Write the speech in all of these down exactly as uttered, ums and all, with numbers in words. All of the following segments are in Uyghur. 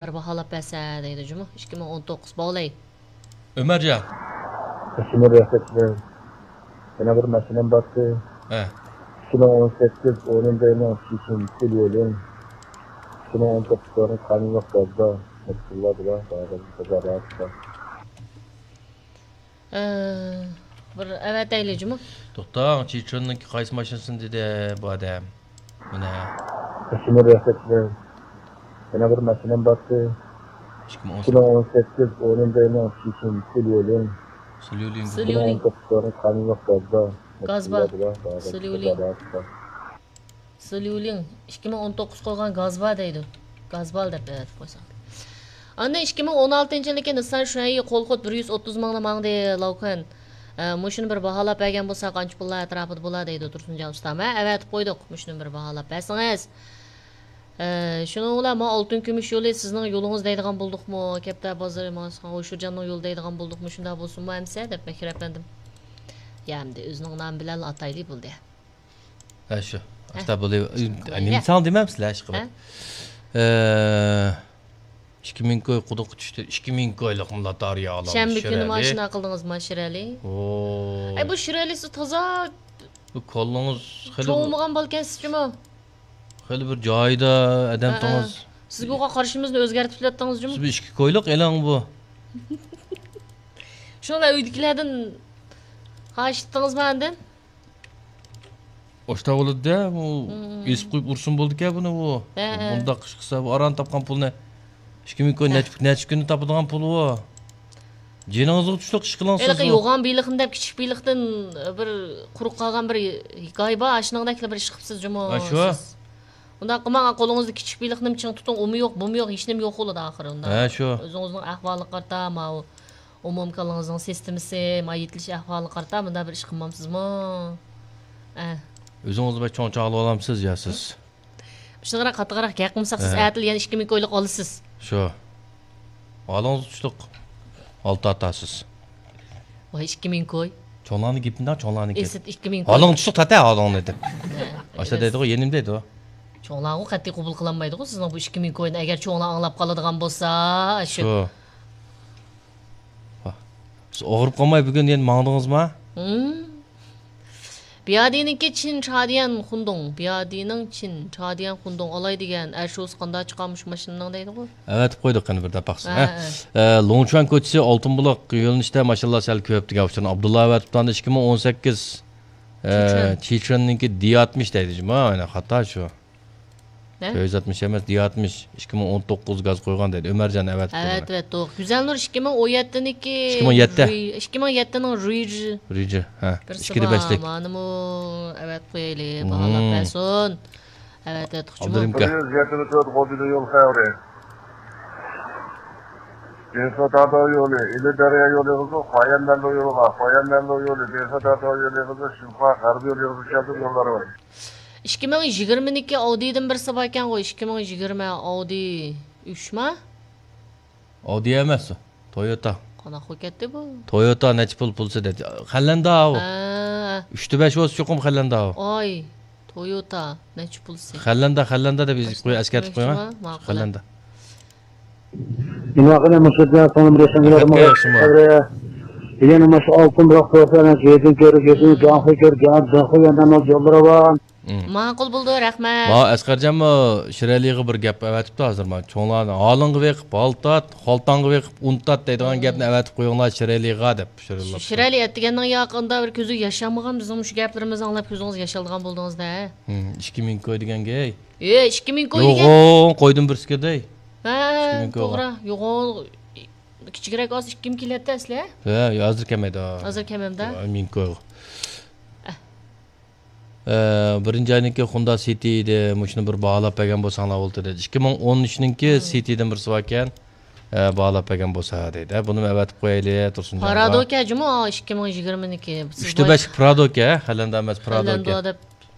بىر باھالاپ بەرسە دەيدۇ جۇمۇ. ئىككى مىڭ ئون توققۇز باۋلاي. ئۆمەرجان. قېشىمىر رەھمەتلەر. يەنە بىر مەسىلەم بارتى. ھە. ئىككى مىڭ ئون سەككىز ئون بىرنىڭ چېچىن سىليولىن. ئىككى مىڭ ئون توققۇز سورۇن قانۇنلۇق گازدا. مەسئۇللار بىلەن بارغان تىجارەتتە. ئە، بىر ئەۋەتەيلى جۇمۇ. توختاڭ، چىچىننىڭكى قايسى ماشىنىسىنى دېدى بۇ ئادەم؟ مانا. قېشىمىر رەھمەتلەر. يەنە بىر مەسىلەم بارتى. ئىككى مىڭ ئون سەككىز. ئىككى مىڭ ئون سەككىز ئون بىرنىڭ چېچىن سىليولىن. سىليولىن. ئىككى مىڭ ئون توققۇز سورۇن قانۇنلۇق گازدا. گاز بار. سىليولىن. سىليۇلىڭ، ئىككى مىڭ ئون توققۇز قويغان گاز بار دەيدۇ. گاز بار دەپ ئەۋەتىپ قويساڭ. ئاندىن ئىككى مىڭ ئون ئالتىنچى يىلىكى نىسسان شۇەيى قولخود بىر يۈز ئوتتۇز مىڭنى ماڭدى، لاۋكۈەن. ئە، مۇشۇنى بىر باھالاپ بەرگەن بولساق، قانچە پۇللار ئەتراپىدا بولا دەيدۇ تۇرسۇنجان ئۇستام. ھە، ئەۋەتىپ قويدۇق. مۇشۇنى بىر باھالاپ بەرسىڭىز. ئە، شۇنىڭ بىلەن ما ئالتۇن كۈمۈش يولى سىزنىڭ يولىڭىز دەيدىغان بولدۇقمۇ؟ كەپتەر بازىرى ماڭسىغان ھوشۇرجاننىڭ يولى دەيدىغان بولدۇقمۇ؟ شۇنداق بولسۇنمۇ ئەمسە؟ دەپ بەكرى ئەپەندىم. يا ئەمدى ئۆزىنىڭ نامى بىلەنلا ئاتايلى بولدى. ھە، شۇ. ھە. ئاشتا بولۇۋ-، ئە، نېمە ساڭا دېمەمسىلەر، ئىشقىلىپ. ھە؟ ئە، ئىككى مىڭ كوي قۇدۇققا چۈشتى. ئىككى مىڭ كويلۇق مۇلا تارىيا ئالامدۇ، شەنبە كۈنى شىرەلى. ماشىنا قىلدىڭىز ما شىرەلى؟ ئوي. ئەي، بۇ شىرەلىسى تازا بۇ كوللىڭىز خېلى چوڭمىغان بالىكەنسىز جۇمۇ. خېلى بىر جايىدا ئادەم ھە، تۇڭىز. سىزگە ئوقا قارىشىمىزنى ئۆزگەرتىپ كېلىۋەتتىڭىز جۇمۇ. سىز بىر ئىككى كويلۇق ئېلىڭ بۇ. شۇڭا ئۆيدىكىلەردىن خاھىش ئېتىڭىزمۇ ئاندىن؟ ئاشتا بولىدۇ-دە، ئۇ مم. ئېسىپ قويۇپ ئۇرسۇن بولىدىكەن بۇنى ئۇ. ھە، ھە. بۇنداق ئىش قىلسا، بۇ ئاران تاپقان پۇلنى. ئىككى مىڭ كوي ھە. نەچچە، نەچچە كۈندە تاپىدىغان پۇل ئۇ. جېنىڭىزغا چۈشلۈق ئىش قىلىڭ سىز ھېلىقى ئۇ. يوغان بېلىقنى دەپ كىچىك بېلىقتىن بىر قۇرۇق قالغان بىر ھېكايە بار، ئاشۇنىڭدەكلا بىر ئىش قىپسىز جۇمۇ ھە، شۇ. سىز. ئۇنداق قىلماڭ، قولىڭىزدا كىچىك بېلىقنىمۇ چىڭ تۇتۇڭ، ئۇمۇ يوق، بۇمۇ يوق، ھېچنېمە يوق بولىدۇ ئاخىرى ئۇنداق. ھە، شۇ. ئۆزىڭىزنىڭ ئەھۋالىغا قارىتا، ماۋۇ ئومۇم كاللىڭىزنىڭ سىستېمىسى، ما يېتىلىش ئەھۋالىغا قارىتا مۇنداق بىر ئىش قىلمامسىزمۇ؟ ئە. ئۆزىڭىزنى بەك چوڭ چاغلىۋالامسىز يا سىز؟ مۇشۇنداقراق قاتتىقراق گەپ قىلمىساق، سىز ئە. ئەتىلا يەنە ئىككى مىڭ كويلۇق ئالىسىز. شۇ. ھالىڭىزغا چۈشلۈق. ئالتە ئاتاسىز. ۋاي، ئىككى مىڭ كوي. چوڭلارنىڭ گېپىنى دەڭ، چوڭلارنىڭ گېپى. ئېسىت ئىككى مىڭ كوي. ھالىڭغا چۈشلۈق تاتە ھالىڭنى دەپ. ئاشتا دەيدىغۇ، يېنىم دەيدۇ. چوڭلارغۇ قەتئىي قوبۇل قىلالمايدىغۇ سىزنىڭ بۇ ئىككى مىڭ كوينى. ئەگەر چوڭلار ئاڭلاپ قالىدىغان بولسا، شۇ. شۇ. ۋاھ. سىز ئاغرىپ قالماي بۈگۈن يەنە ماڭدىڭىزما؟ ھىم. بىيادىنىڭكى چىن چادىيەن خۇندۇڭ. بىيادىنىڭ چىن چادىيەن خۇندۇڭ. ئالاي دېگەن ئەر شوۋىسى قانداق چىقارمۇ شۇ ماشىنىنىڭ دەيدىغۇ. ئەۋەتىپ قويدۇق قېنى بىر داپ باقسا. ھە، ھە. ھە. ئە، لوڭچۈەن كوچىسى ئالتۇن بۇلاق يۆنىلىشىدە ماشىنىلار سەل كۆپ دېگەن ئۇچۇرنى ئابدۇللا ئەۋەتىپتۇ. ئاندىن ئىككى مىڭ ئون سەككىز، ئە، چىچۈەن. چىچۈەننىڭكى دى ئاتمىش دەيدۇ جۇمۇ. ئەنە خاتا شۇ. نە؟ كۆز ئاتمىش ئەمەس، دى ئاتمىش، ئىككى مىڭ ئون توققۇز گاز قويغان دەيدۇ. ئۆمەرجان ئەۋەتىپتۇ بۇنى. ئەۋەتىۋەتتۇق. گۈزەلنۇر ئىككى مىڭ ئون يەتتىنىڭكى ئىككى مىڭ يەتتە. رۇي-، ئىككى مىڭ يەتتىنىڭ رۇيجى. رۇيجى، ھە. بىرسى ئىككىدە بار. بەشلىك. مانىمۇ ئەۋەتىپ قويايلى، مم. باھالاپ بەرسۇن. ئەۋەتىۋەتتۇق جۇمۇ. ئابدۇرېھىم ئاكا. بىر يۈز يەتمىش تۆت غوجىدا يول خەۋىرى. بىنسۇ تاغداۋ يولى، ئىلى دەريا يولى قىزىل، خۇايەن مەنلۇ يولىغا، خۇايەن مەنلۇ يولى، بىنسۇ تاغداۋ يولى قىزىل، شىنخۇا غەربىي يولى قىزىل كەلدى يوللار بار. ئىككى مىڭ يىگىرمىنىڭكى ئاۋدىدىن بىرسى باركەنغۇ، ئىككى مىڭ يىگىرمە ئاۋدى ئۈچما؟ ئاۋدى ئەمەس ئۇ، تويوتا. قانداق بولۇپ كەتتى بۇ؟ تويوتا نەچچە پۇل پۇلسى دەيدۇ. خەللەندە ئاۋۇ. ھە. ئۈچتە بەش بولسا چوقۇم خەللەندە ئاۋۇ. ئاي، تويوتا نەچچە پۇلسى؟ خەللەندە، خەللەندە دەپ يېزىپ قويۇڭ، ئەسكەرتىپ قويۇڭ. ماقۇل. خەللەندە. نېمە قىلىمەن، مۇشۇ بىلەن سىڭلىم رەسىمگە بارىمەن. ياخشىمۇ؟ يەنە مۇشۇ ئالتۇن بۇلاق تۇرسا، يېزىنى كۆرۈپ، يېزىنى جاڭخۇي كۆرۈپ، جاڭ، جاڭخۇي يەنە يوللىرى بار. مم. ماقۇل بولدى، رەھمەت. ماۋۇ ئەسقەرجانمۇ شىرەلىگە بىر گەپ ئەۋەتىپتۇ ھازىر. مانا چوڭلارنى ھالىڭغا بېقىپ ھالتات، خالتاڭغا بېقىپ ئۇنتات دەيدىغان مم. گەپنى ئەۋەتىپ قويۇڭلار شىرەلىغا دەپ. شىرەلى ئەتىگەننىڭ ياقىندا بىر كۆزى ياشانمىغان بىزنىڭ مۇشۇ گەپلىرىمىزنى ئاڭلاپ كۆزىڭىز ياشالىدىغان بولدىڭىز-دە. مم، ئىككى مىڭ كوي دېگەنگە. ئەي، ئىككى مىڭ كوي دېگەن. يوغان قويدىن بىرسىكىدەي. ھە، ئىككى مىڭ كويغا. توغرا. يوغان كىچىكرەك ئاز ئىككى مىڭ كېلەتتى ئەسلى. ھە، ھازىر كەمەيدۇ. ھازىر كەمەمدە. مىڭ كويغا. ئە، بىرىنچى ئاينىڭكى خوندا سىتى ئىدى، مۇشۇنى بىر باھالاپ بەرگەن بولساڭلار بولاتتى دەيدۇ. ئىككى مىڭ ئون ئۈچنىڭكى مم. سىتىدىن بىرسى باركەن، ئە، باھالاپ بەرگەن بولسا دەيدۇ. ئە، بۇنىمۇ ئەۋەتىپ قويايلى، تۇرسۇنجان ئاكا. پارادوكە جۇمۇ، ئىككى مىڭ يىگىرمىنىڭكى. ئۈچتە بەشلىك پرادوكە، خەلەندە ئەمەس، پرادوكە. خەلەندە دەپ.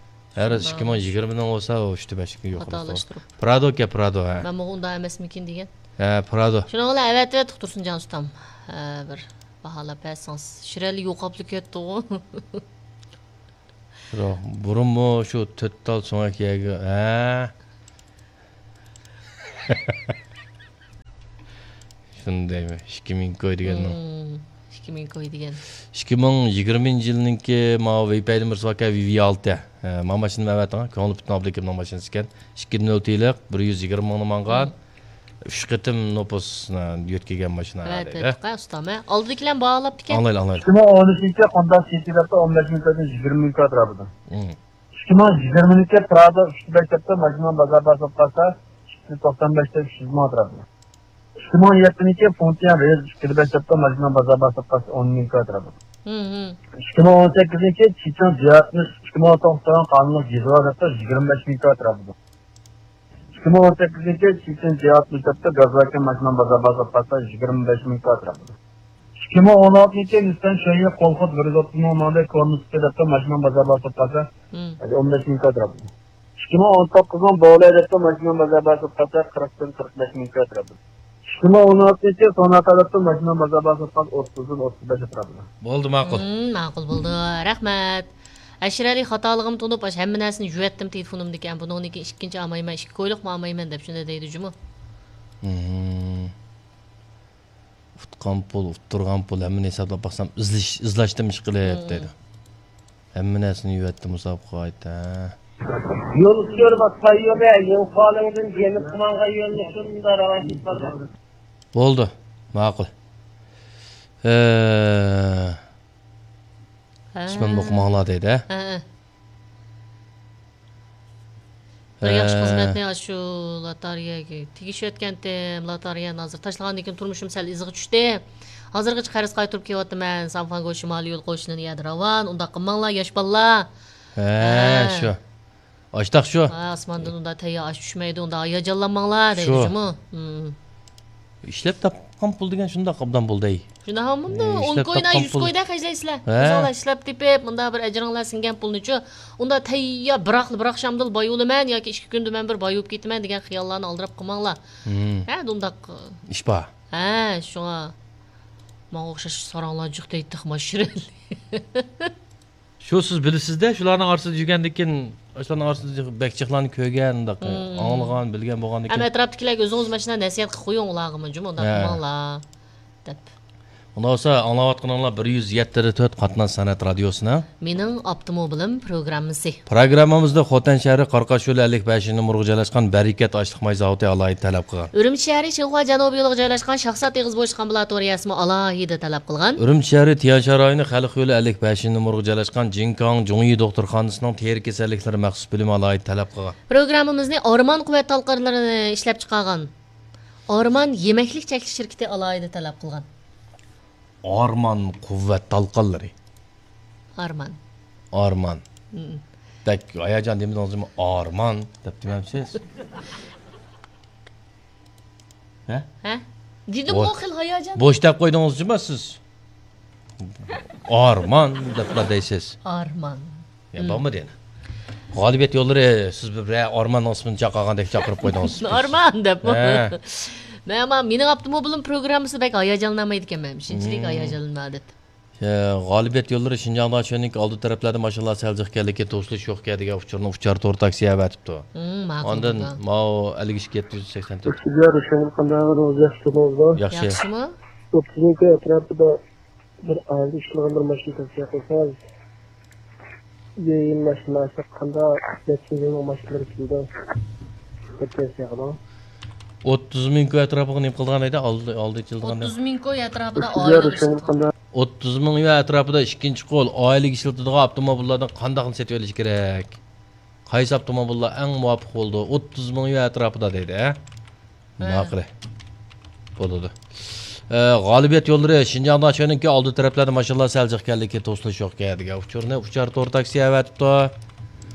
ھەر ئىككى مىڭ يىگىرمىنىڭ بولسا ئۇ ئۈچتە بەشلىكى يوق. خاتالاشتۇرۇپ. پرادوكە، پرادا، ھە. مەنمۇ ئۇنداق ئەمەسمىكىن دېگەن. ھە، پرادا. شۇنىڭ بىلەن ئەۋەتىۋەتتۇق تۇرسۇنجان ئۇستام. ھە، بىر باھالاپ بەرسىڭىز. شىرەلى يوقاپلا كەتتىغۇ. ياق، بۇرۇنمۇ شۇ تۆت تال سۆڭەك يەرگە، ھە؟ شۇنى دەيمەن، ئىككى مىڭ كوي دېگەننىڭ. مم، ئىككى مىڭ كوي دېگەن. ئىككى مىڭ يىگىرمىنچى يىلنىڭكى ماۋۇ ۋېيپەيدە بىرسى باركەن، ۋىۋى ئالتە. ھە، مانا ماشىنىنى ئەۋەتىڭ. كۆڭلى پۈتۈن ئابلىكىمنىڭ ماشىنىسى ئىكەن. ئىككى نۆل تىلىق، بىر يۈز يىگىرمە مىڭنى ماڭغان. مم. ئۈچ قېتىم نوپۇسنى يۆتكىگەن ماشىنا ھە، دەيدۇ. تۆت قا ئۇستام، ھە. ئالدىدىكىلەرمۇ باھالاپتىكەن. ئاڭلايلى، ئاڭلايلى. ئىككى مىڭ ئون ئۈچىنچى يىل خوندا سىتى دەپتۇ، ئون بەش مىڭ كويدىن يىگىرمە مىڭ كوي ئەتراپىدا. مم. ئىككى مىڭ يىگىرمىنچى يىل پرادا ئۈچ يۈز بەش دەپتۇ، ماشىنا بازار باسىپ قالسا، ئىككى يۈز توقسان بەش دەپ ئۈچ يۈز مىڭ ئەتراپىدا. ئىككى مىڭ يەتتىنچى يىل فۇڭچيەن رېز ئىككى يۈز بەش دەپتۇ، ماشىنا بازار باسىپ قالسا، ئون مىڭ كوي ئەتراپىدا. مم، مم. ئىككى مىڭ ئون سەككىزىنچى يىل چىچىڭ جىياتمىش، ئىككى مىڭ توققۇزىنچى يىل قانۇنلۇق جىزۋا دەپتۇ، يىگىرمە بەش مىڭ كوي ئەتراپىدا. ئىككى مىڭ ئون سەككىزىنچى يىل چىچىڭ جىياتمىش دەپتۇ، گاز ۋاكىن ماشىنا بازار باسىپ قالسا، يىگىرمە بەش مىڭ كوي ئەتراپىدا. ئىككى مىڭ ئون ئالتىنچى يىل نىسسان شېيى قولخود بىر يۈز ئوتتۇز مىڭ ماڭدى، كونىسى دەپتۇ، ماشىنا بازار باسىپ قالسا، مم. ھەدە ئون بەش مىڭ كوي ئەتراپىدا. ئىككى مىڭ ئون توققۇز مىڭ بولە دەپتۇ، ماشىنا بازار باسىپ قالسا، قىرىقتىن قىرىق بەش مىڭ كوي ئەتراپىدا. ئىككى مىڭ ئون ئالتىنچى يىل سوناتا دەپتۇ، ماشىنا بازار باسىپ قالسا، ئوتتۇزدىن ئوتتۇز بەش ئەتراپىدا. بولدى، ماقۇل. مم، ماقۇل بولدى. رەھمەت. ئەشرەلى، خاتالىقىمنى تونۇپ، ئاشۇ ھەممە نەرسىنى يۇۋەتتىم تېلېفونۇمدىكى. بۇنىڭدىن كېيىن ئىككىنچى ئالمايمەن، ئىككى كويلۇقمۇ ئالمايمەن دەپ شۇنداق دەيدۇ جۇمۇ. مم. ئۇتقان پۇل، ئۇتتۇرغان پۇل، ھەممىنى ھېسابلاپ باقسام، ئىزدىش، ئىزداشتىم ئىشقىلىپ دەيدۇ. ھەممە نەرسىنى يۇۋەتتى مۇسابىقىگە ئائىت، ھە. يول ئۇچۇرى بار، يول، يول خالىڭدىن يېنىپ قالغان يولنى شۇنداق راۋان كېتىپ قالدى. بولدى، ماقۇل. ئە، ھە. ئىسمىمنى ئوقۇماڭلار دەيدۇ، ھە؟ ھە، ھە. بىر ياخشى ھە. خىزمەتنى ئاشۇ لاتارىيەگە تېگىشىۋەتكەنتىم. لاتارىيەنى ھازىر تاشلىغاندىن كېيىن تۇرمۇشۇم سەل ئىزىغا چۈشتى. ھازىرغىچە قەرز قايتۇرۇپ كېلىۋاتىمەن. سانفاڭگو شىمالىي يول قوشۇنىنى يەدە راۋان. ئۇنداق قىلماڭلار، ياش بالىلار. ھە، ھە. شۇ. ئاشتاق شۇ. ھە، ئاسماندىن ئۇنداق تەييار ئاش چۈشمەيدۇ، ئۇنداق ھاياجانلانماڭلار دەيدۇ شۇ. جۇمۇ. ھىم. ئىشلەپ تاپقان پۇل دېگەن شۇنداق ئوبدان بولدى. شۇنداق ھەممۇنداق ئە، ئون ئىشلەپ كوينا تاپقان يۈز پۇل. كويدا خەجلەيسىلەر. ھە. ئۆزۈڭلار ئىشلەپ تېپىپ، مۇنداق بىر ئەجرىڭلار سىڭگەن پۇلنىچۇ. ئۇنداق تەييار بىراقلا بىر ئاخشامدىلا باي بولىمەن ياكى ئىككى كۈندە مەن بىر باي بولۇپ كېتىمەن دېگەن خىياللارنى ئالدىراپ قىلماڭلار. ھىم. ھە، ئۇنداق. ئىش بار. ھە، شۇڭا. ماڭا ئوخشاش ساراڭلار جىق دەيدۇ، تېخىمۇ شىرىن. شۇ سىز بىلىسىز-دە، شۇلارنىڭ ئارىسىدا يۈرگەندىن كېيىن، شۇلارنىڭ ئارىسىدا بەك جىقلارنى كۆرگەن، ئۇنداق مم. ئاڭلىغان، بىلگەن بولغاندىن ئەمما كېيىن. ئەتراپتىكىلەرگە ئۆزىڭىز ماشىنا نەسىھەت قىلىپ قويۇڭ ئۇلارغىمۇ، جۇمۇ، ئۇنداق ھە. قىلماڭلار، دەپ. ئۇنداق بولسا، ئاڭلاۋاتقىنىڭلار بىر يۈز يەتتە تۆت قاتناش سەنئەت رادىيوسىنىڭ مېنىڭ ئاپتوموبىلىم پروگراممىسى. پروگراممىمىزدا خوتەن شەھىرى قاراقاش يولى ئەللىك بەشىنچى نومۇرغا جايلاشقان بەرىكەت ئاشلىق ماي زاۋۇتى ئالاھىدە تەلەپ قىلغان. ئۈرۈمچى شەھىرى شىنخۇا جەنۇبىي يولىغا جايلاشقان شاخسات ئېغىز بوشلۇق ئامبۇلاتورىيەسىمۇ ئالاھىدە تەلەپ قىلغان. ئۈرۈمچى شەھىرى تيەنشان رايونى خەلق يولى ئەللىك بەشىنچى نومۇرغا جايلاشقان جىنكاڭ جۇڭيى دوختۇرخانىسىنىڭ تېرە كېسەللىكلىرى مەخسۇس بۆلۈمى ئالاھىدە تەلەپ قىلغان. پروگراممىمىزنى ئارمان قۇۋۋەت تالقانلىرى ئىشلەپچىقارغان. ئارمان يېمەكلىك چەكلىك شىركىتى ئالاھىدە تەلەپ قىلغان. ئارمان قۇۋۋەت تالقانلىرى. ئارمان. ئارمان. مم. بەك ھاياجان دېمىدىڭىزمۇ؟ ئارمان دەپ دېمەمسىز؟ ھە؟ ھە؟ دېدىمغۇ، بو-، خېلى ھاياجان. بوش دەپ قويدىڭىزچۇما سىز؟ ئارمان دەپلا دەيسىز. ئارمان. يا، مم. بارمىدى يەنە؟ غالىبىيەت يوللىرى، سىز بىر، بىرەر ئارماننىڭ ئىسمىنى چاقىرغاندەك چاقىرىپ قويدىڭىز. ئارمان دەپمۇ؟ ھە. مەن، مېنىڭ ئاپتوموبىلىم پروگراممىسى بەك ھاياجانلانمايدىكەنمەن، شۇنچىلىك مم. ھاياجانلىنىپ. ئە، غالىبىيەت يوللىرى شىنجاڭ داشۆنىڭكى ئالدى تەرەپلەردە ماشىنىلار سەل جىق ئىكەنلىكى، توسۇلۇش يوق ئىكەن دېگەن ئۇچۇرنى ئۇچار تور تاكسى ئەۋەتىپتۇ. مم، ماقۇل ئاندىن بولدى. ماۋۇ ئەللىك ئىككى يەتتە يۈز سەكسەن تۆت. ئۆتكۈزۈۋېرىش قانداق، روزى ياخشىمۇ؟ ياخشى. ياخشىمۇ؟ ئوتتۇز مىڭ كوي ئەتراپىدا بىر ئائىلىدە ئىشلىغان بىر ماشىنا تەۋسىيە قىلسىڭىز. يېڭى ماشىنا ئالساق قانداق، نەچچە يىلنىڭ ماشىنىلىرى كېلىدۇ؟ بىر تەۋسىيە قىلىڭ. ئوتتۇز مىڭ كوي ئەتراپىغا نېمە قىلىدىغان ئىدى؟ ئالدى، ئالدى ئېچىلىدىغان. ئوتتۇز مىڭ كوي ئەتراپىدا ئوتتۇز ئائىلە يار ئىشلىتىدۇ. ئۈچۈن قانداق؟ ئوتتۇز مىڭ يۈەن ئەتراپىدا ئىككىنچى قول ئائىلىگە ئىشلىتىدىغان ئاپتوموبىللاردىن قانداقنى سېتىۋېلىش كېرەك؟ قايسى ئاپتوموبىللار ئەڭ مۇۋاپىق بولىدۇ؟ ئوتتۇز مىڭ يۈەن ئەتراپىدا دەيدۇ، ھە؟ ھە. ماقۇل. بولىدۇ. ئە، غالىبىيەت يوللىرى شىنجاڭ داشۆنىڭكى ئالدى تەرەپلەردە ماشىنىلار سەل جىق ئىكەنلىكى، توسۇلۇش يوق ئىكەن دېگەن ئۇچۇرنى ئۇچار تور تاكسى ئەۋەتىپتۇ.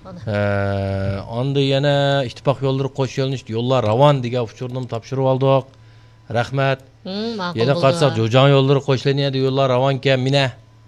مانا. ئە، ئاندىن يەنە ئىتتىپاق يوللىرى قوش يۆنىلىش يوللار راۋان دېگەن ئۇچۇرنىمۇ تاپشۇرۇۋالدۇق. رەھمەت. ھىم، ماقۇل يەنە بولدى. قارىساق، جوجاڭ يوللىرى قوشلىنىدۇ، يوللار راۋانكەن، مىنە،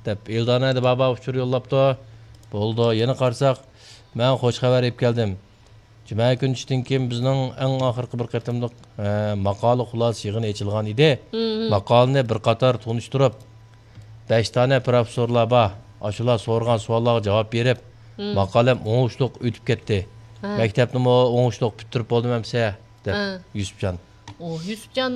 دەپ ئېلدانە دە بابا ئۇچۇر يوللاپتۇ. بولىدۇ. يەنە قارىساق، مەن خوش خەۋەر ئېلىپ كەلدىم. جۈمە كۈنى چۈشتىن كېيىن بىزنىڭ ئەڭ ئاخىرقى بىر قېتىملىق، ئە، ماقالە خۇلاسە يىغىنى ئېچىلغان ئىدى. ھىم، ھىم. ماقالىنى بىر قاتار تونۇشتۇرۇپ، بەش دانە پروفېسسورلار بار. ئاشۇلار سورىغان سوئاللارغا جاۋاب بېرىپ، ھىم. ماقالەم ئوڭۇشلۇق ئۆتۈپ كەتتى. ھە. مەكتەپنىمۇ ئوڭۇشلۇق پۈتتۈرۈپ بولدۇم ئەمسە، دەپ ھە. يۈسۈپجان. ئۇ يۈسۈپجان